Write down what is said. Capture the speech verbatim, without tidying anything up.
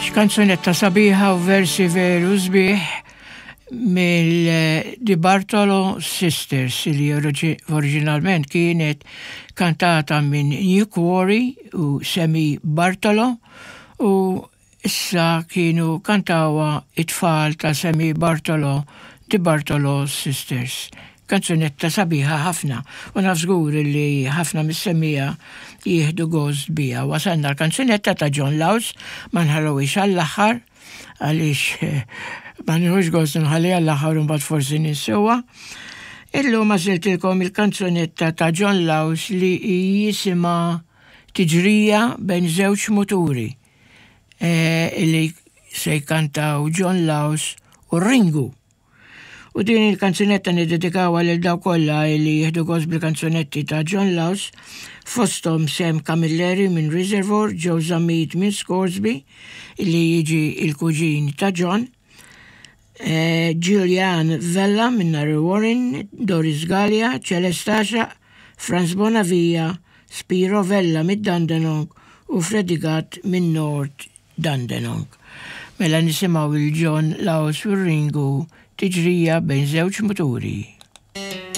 X'kanzunetta sabiħa u versi veru sbieħ mill-Di Bartolo Sisters li oriġinalment kienet kantata minn New Quarry u Semi Bartolo u issa kienu kantawha it-tfal ta' Semi Bartolo, Di Bartolo Sisters. Kanzunetta sabiħa ħafna u naf żgur li ħafna mis-semmiegħa jieħdu gost biha. Wasalna l-kanzunetta ta' John Laus, ma nħalluhiex għall-aħħar għaliex ma nieħux gost nħalli għall-aħħar u mbagħad forsi ninsewha. Illum għażiltilkom il-kanzunetta ta' John Laus li jisimha Tiġrija bejn żewġ muturi e, li se jkantaw John Laus u Ringu. U din il-kanzunetta niddedikawha lil dawk kollha li jieħdu gost bil-kanzunetti ta' John Laus, fosthom Sam Camilleri minn Reservoir, Joe Zammit minn Scoresby, li jiġi il-kuġin ta' John, eh, Julian Vella minn Narre Warren, Doris Gallia, Celesta Franz Bonavia, Spiro Vella mid Dandenong u Freddy Gatt minn North Dandenong. Mela nisimgħu lil John Laus u Ringu, Tiġrija bejn żewġ muturi.